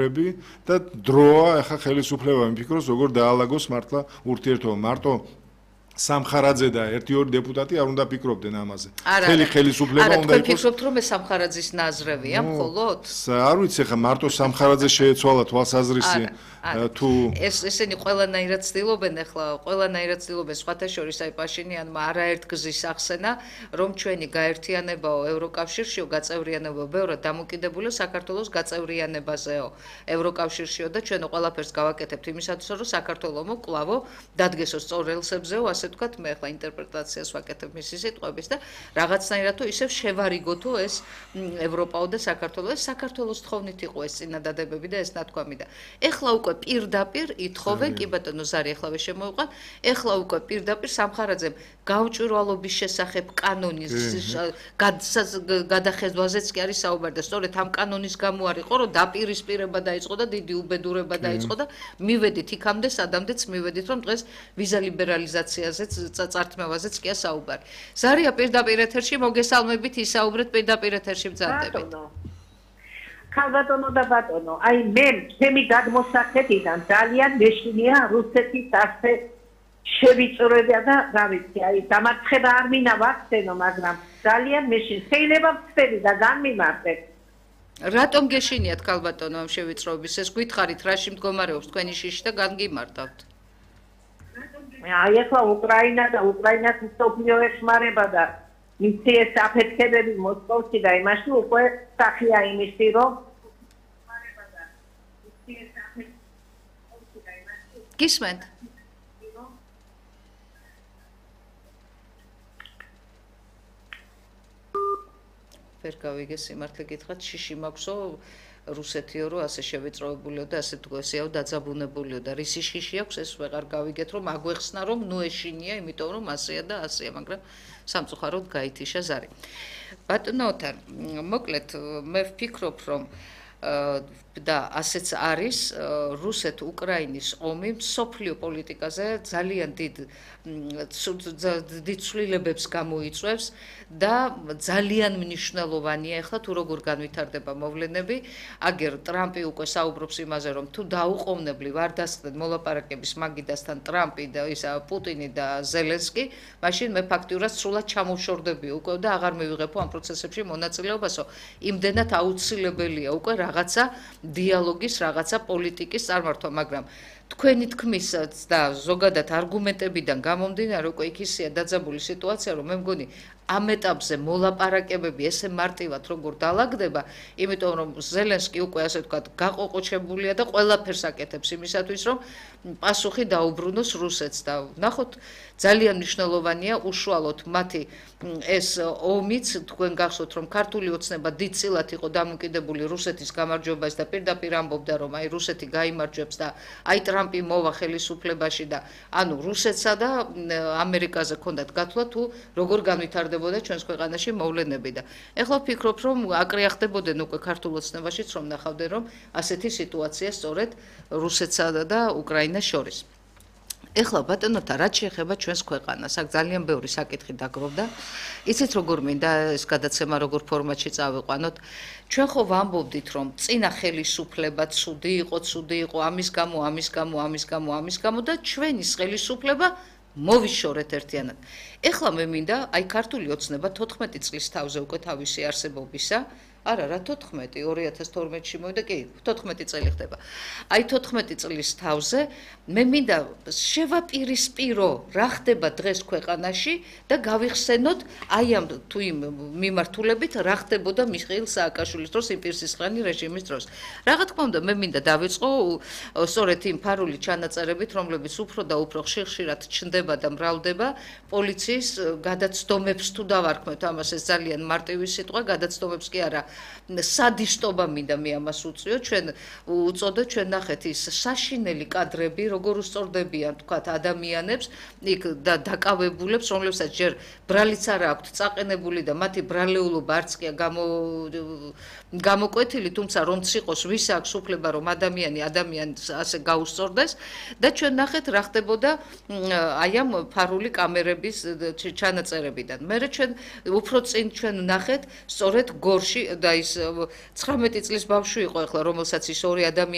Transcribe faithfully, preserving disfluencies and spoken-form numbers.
და დროა ახლა ხელისუფლება მიფიქროს როგორ დაალაგოს მართლა ურთიერთობა მარტო სამხარაძე და ერთი ორი დეპუტატი არ უნდა ფიქრობდნენ ამაზე. ხელი ხელისუფლება უნდა იყოს. ფიქრობთ რომ ეს სამხარაძის ნაზრევია მხოლოდ? არ ვიცი ხა მარტო სამხარაძე შეეცვალა თვალსაზრისი თუ ეს ესენი ყველანაირად ცდილობენ ახლა ყველანაირად ცდილობენ სხვათა შორის აი პაშინიანმა არაერთ გზის ახსენა რომ ჩვენი გაერთიანებაო ევროკავშირშიო გაწევრიანებაო ბევრად დამოკიდებულია საქართველოს გაწევრიანებაზეო ევროკავშირშიო და ჩვენ ყველაფერს გავაკეთებთ იმისათვის რომ საქართველოს კლავო დადგესო სწორ რელსებზეო ასე თქვათ მე ახლა ინტერპრეტაციას ვაკეთებ მისი სიტყვების და რაღაცნაირად თუ ისევ შევარიგოთო ეს ევროპაო და საქართველოს ეს საქართველოს თხოვნით იყო ეს წინადადებები და ეს ნათქვამი და ეხლა უკვე პირდაპირ ითხოვენ კი ბატონო ზარი ახლავე შემოიყვან ეხლა უკვე პირდაპირ სამხარაძემ გაუჭვირვალობის შესახებ კანონის გადახეზვაზეც კი არის საუბარი და სწორედ ამ კანონის გამო არ იყო რომ დაპირისპირება დაიწყო და დიდი უბედურება დაიწყო და მივედით იქამდე სადამდეც მივედით რომ დღეს ვიზა ლიბერალიზაციაზეც წართმევაზეც კი საუბარი ზარია პირდაპირ ეთერში მოგესალმებით ისაუბრეთ პირდაპირ ეთერში ბრძანდებით ქალბატონო და ბატონო, აი მე ჩემი გადმოსახედიდან ძალიან მეშინია რუსეთის ასე შევიწროება და რა ვიცი, აი დამარცხება არ მინდა ვახსენო, მაგრამ ძალიან მეშინ შეიძლება ვწერი და განმიმარტებ. რატომ გეშინიათ ქალბატონო ამ შევიწროების ეს გითხარით რაში მდგომარეობს თქვენი შიში და განგიმარტავთ? აი ახლა უკრაინა და უკრაინას მსოფლიო ეხმარება და იცი ეს აფეთქებები მოსკოვში და იმაში უკვე სახია იმისი რომ გისმენთ ვერ გავიგე სიმართლე გითხრათ შიში მაქვსო რუსეთიო რომ ასე შევიწროებულიო და ასე თქვესიაო დაძაბუნებულიო და რისი შიში აქვს ეს ვეღარ გავიგეთ რომ აგვეხსნა რომ ნუ ეშინია იმიტომ რომ ასეა და ასეა მაგრამ სამწუხაროდ გაითიშა ზარი ბატონო ოთარ მოკლედ მე ვფიქრობ რომ და ასეც არის რუსეთ-უკრაინის ომი სოფლიო პოლიტიკაზე ძალიან დიდ დიდ ცვლილებებს გამოიწვევს და ძალიან მნიშვნელოვანია ახლა თუ როგორ განვითარდება მოვლენები აგერ ტრამპი უკვე საუბრობს იმაზე რომ თუ დაუყოვნებლივ არ დასხდნენ მოლაპარაკების მაგიდასთან ტრამპი და ისა პუტინი და ზელენსკი მაშინ მე ფაქტიურად სრულად ჩამოვშორდები უკვე და აღარ მივიღებო ამ პროცესებში მონაწილეობასო იმდენად აუცილებელია უკვე რაღაცა დიალოგის რაღაცა პოლიტიკის წარმართვა მაგრამ თქვენი თქმისაც და ზოგადად არგუმენტებიდან გამომდინარე უკვე იქ ისეა დაძაბული სიტუაცია რომ მე მგონი ამ ეტაპზე მოლაპარაკებები ესე მარტივად როგორ დაალაგდება იმიტომ რომ ზელენსკი უკვე ასე ვთქვათ გაყოყოჩებულია და ყველაფერს აკეთებს იმისათვის რომ პასუხი დაუბრუნოს რუსეთს და ნახოთ ძალიან მნიშვნელოვანია უშუალოდ მათი ეს ომიც თქვენ გახსოვთ რომ ქართული ოცნება დიდწილად იყო დამოკიდებული რუსეთის გამარჯვებას და პირდაპირ ამბობდა რომ აი რუსეთი გაიმარჯვებს და აი ტრამპი მოვა ხელისუფლებაში და ანუ რუსეთსა და ამერიკაზე ჰქონდათ გათვლა თუ როგორ განვითარდებოდა ჩვენს ქვეყანაში მოვლენები და ეხლა ვფიქრობ რომ აკრიახდებოდნენ უკვე ქართულ ოცნებაშიც რომ ნახავდნენ რომ ასეთი სიტუაცია სწორედ რუსეთსა და უკრაინას შორის ეხლა ბატონოთა რაც შეეხება ჩვენს ქვეყანას აქ ძალიან ბევრი საკითხი დაგროვდა იცით როგორ მინდა ეს გადაცემა როგორ ფორმატში წავიყვანოთ ჩვენ ხო ვამბობდით რომ წინა ხელისუფლება ცუდი იყო ცუდი იყო ამის გამო ამის გამო ამის გამო ამის გამო და ჩვენი ხელისუფლება მოვიშორეთ ერთიანად ეხლა მე მინდა აი ქართული ოცნება თოთხმეტი წლის თავზე უკვე თავისი არსებობისა არა რა თოთხმეტი ორი ათას თორმეტში მოვიდა კი თოთხმეტი წელი ხდება აი თოთხმეტი წლის თავზე მე მინდა შევაპირისპირო რა ხდება დღეს ქვეყანაში და გავიხსენოთ აი ამ თუ იმ მიმართულებით რა ხდებოდა მიხეილ სააკაშვილის დროს იმპირსისყრიანი რეჟიმის დროს რა თქმა უნდა მე მინდა დავიწყო სწორედ იმ ფარული ჩანაწერებით რომლებიც უფრო და უფრო ხშირ-ხშირად ჩნდება და მრავლდება პოლიციის გადაცდომებს თუ დავარქმევთ ამას ეს ძალიან მარტივი სიტყვა გადაცდომებს კი არა სადისტობა მინდა მე ამას უწიო ჩვენ უწოდო ჩვენ ნახეთ ის საშინელი კადრები როგორ უსწორდებიან თქვათ ადამიანებს იქ და დაკავებულებს რომლებსაც ჯერ ბრალიც არ აქვთ წაყენებული და მათი ბრალეულობა არც კი გამო გამოკვეთილი თუმცა რომც იყოს ვის აქვს უფლება რომ ადამიანი ადამიანს ასე გაუსწორდეს და ჩვენ ნახეთ რა ხდებოდა აი ამ ფარული კამერების ჩანაწერებიდან მე ჩვენ უფრო წინ ჩვენ ნახეთ სწორედ გორში და ის ცხრამეტი წლის ბავშვი იყო ახლა, რომელსაც ის ორი ადამიანი